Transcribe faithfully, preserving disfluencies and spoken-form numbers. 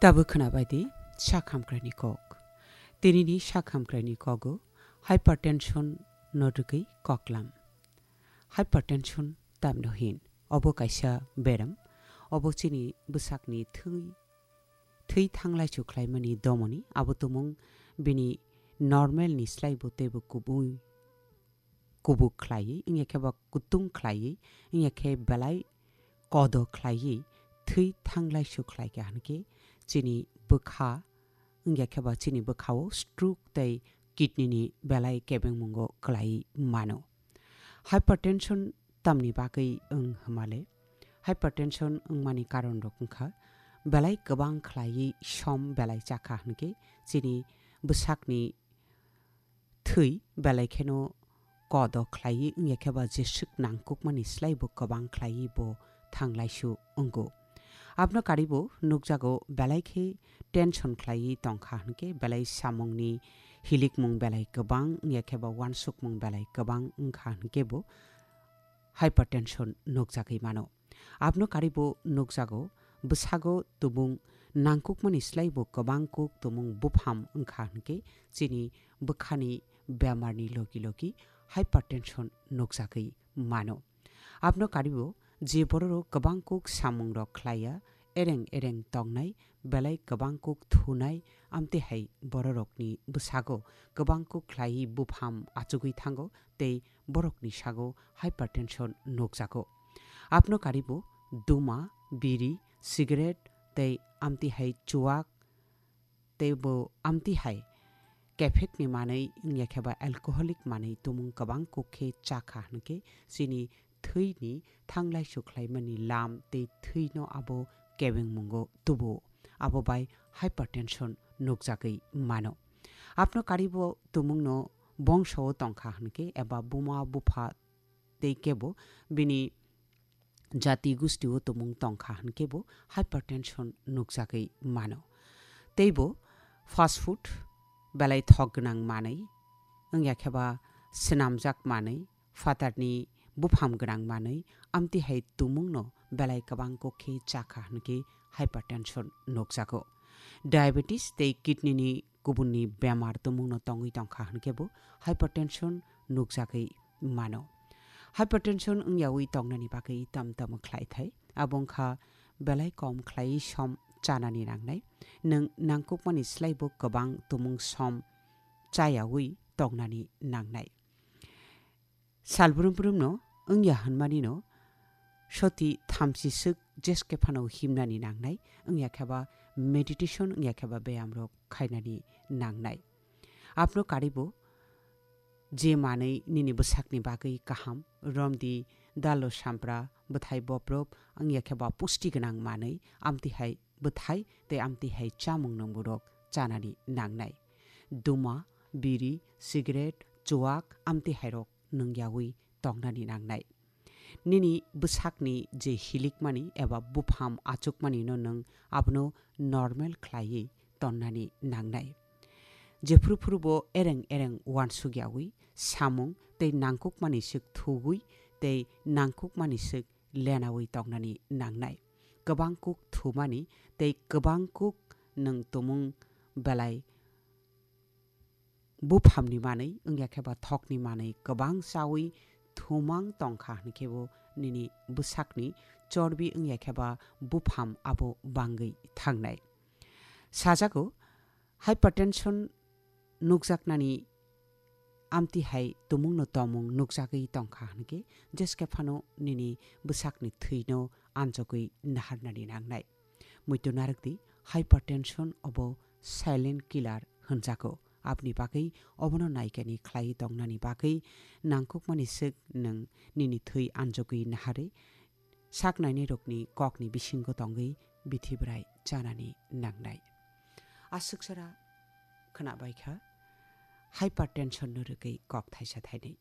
Tabuk khwnabai di sak hamkraini kok. Tinini sak hamkraini kogo hypertension no rwgwi koklam. Hypertension tamno hin? Obo kaisa beram. Obo chini bwsakni thwi, thwi thanglaisu khlaimani domoni. Abo tumung bini normal ni slai bo teibo kubui kubuk khlaiwi, wngya khe ba kutung khlaiwi, wngya khe belai kodo khlaiwi thwi thanglaisu khlaikha hwnkhe chini bwkha, wngya khe ba chini bwkhao stroke tei kidney ni belai kebengmungo kwlaiwi mano. Hypertension tamni bagwi wng hwnmale? Hypertension wngmani karonrok wngkha belai kwbang khlaiwi som belai chakha hwnkhe chini bwsakni thwi belai kheno kodo khlaiwi wngya khe ba jeswk nangkukmani slai bo kwbang khlaiwi bo thanglaisu wngo. Abno karibo nukjago belai khe tension khlaiwi tongkha hwnkhe belai samungni hilikmung belai kwbang wngya khe ba uansukmung belai kwbang wngkha hwnkhe bo hypertension nukjagwi mano. Abno karibo nukjago, bwsago tumung nangkukmani slai bo kwbang kuk tumung bupham wngkha hwnkhe chini bwkhani bemarni logi logi hypertension nukjagwi mano. Abno karibo je bororok kwbang kuk samungrok khlaiya, ereng ereng tongnai, belai kwbang kuk thunai, amtwi hai bororokni bwsago kwbang kuk khlaiwi bupham achugwi thango tei borokni sago hypertension nukjago. Abno karibo duma, biri, cigarette tei amtwi hai chuak tei bo amtwi hai kephekni manwi wngya khe ba alcoholic manwi tumung kwbang kuk khe chakha hwnkhe chini thwini thanglaisu khlaimani lam tei thwino abo kebengmungo tubuo. Abo bai hypertension nukjagwi mano. Abno karibo tumungno bongsao tongkha hwnkhe eba buma bupha tei kebo bini jati gustio tumung tongkha hwnkhe bo hypertension nukjagwi mano. Tei bo fast food, belai thok gwnang manwi, wngya khe ba swnamjak manwi, phatarni bupham gwnang manwi, amtwi hai tumungno belai kwbang kok khe chakha hwnkhe hypertension nukjago. Diabetes tei kidney ni kubunni bemar tumungno tongwi tongkha hwnkhe bo hypertension nukjagwi mano. Hypertension wngyawi tongnani bagwi tam tamo khlai thai. Abo wngkha belai kom khlaiwi som chanani nangnai. Nwng nangkukmani slai bo kwbang tumung som chayawi tongnani nangnai. Sal brum brumno wngya hwnmanino soti thamchi swk jeske phano himnani nangnai, wngya khe ba meditation, wngya khe ba beyamrok khainani nangnai. Abno karibo je manwi nini bwsakni bagwi kaham, romdi dalo sampra, bwthai boprop, wngya khe ba pusti gwnang manwi, amtwi hai bwthai tei amtwi hai chamung nungmurok chanani nangnai. Duma, biri, cigarette, chuak, amtwi hairok nungyawi tongnani nangnai. Nini bwsakni je hilikmani eba bupham achukmanino nwng abono normal khlaiwi tonnani nangnai. Jephru phrubo ereng ereng uansukyawi samung tei nangkukmani swk thugwi tei nangkukmani swk lenawi tongnani nangnai. Kwbang kuk thumani tei kwbang kuk nwng tumung belai buphamni manwi wngya khe ba thokni manwi kwbang chawi thumang tongkha hwnkhe bo nini bwsakni chorbi wngya khe ba bupham abo bangwi thangnai. Sajago, hypertension nukjaknani amtwi hai tumungno tomung nukjagwi tongkha hwnkhe jeske phano nini bwsakni thwino anjogwi naharnani nangnai. Muitu narwkdi, hypertension obo silent killer hwnjago. Aboni bagwi obono naikani khlaiwi tongnani bagwi nangkukmani swk nwng nini thwi anjogwi naharwi sak nainairokni kokni bisingo tongwi bithi bwrai chanani nangnai. Aswk jora khwnabaikha hypertension no rwgwi kok thaisa thainwi.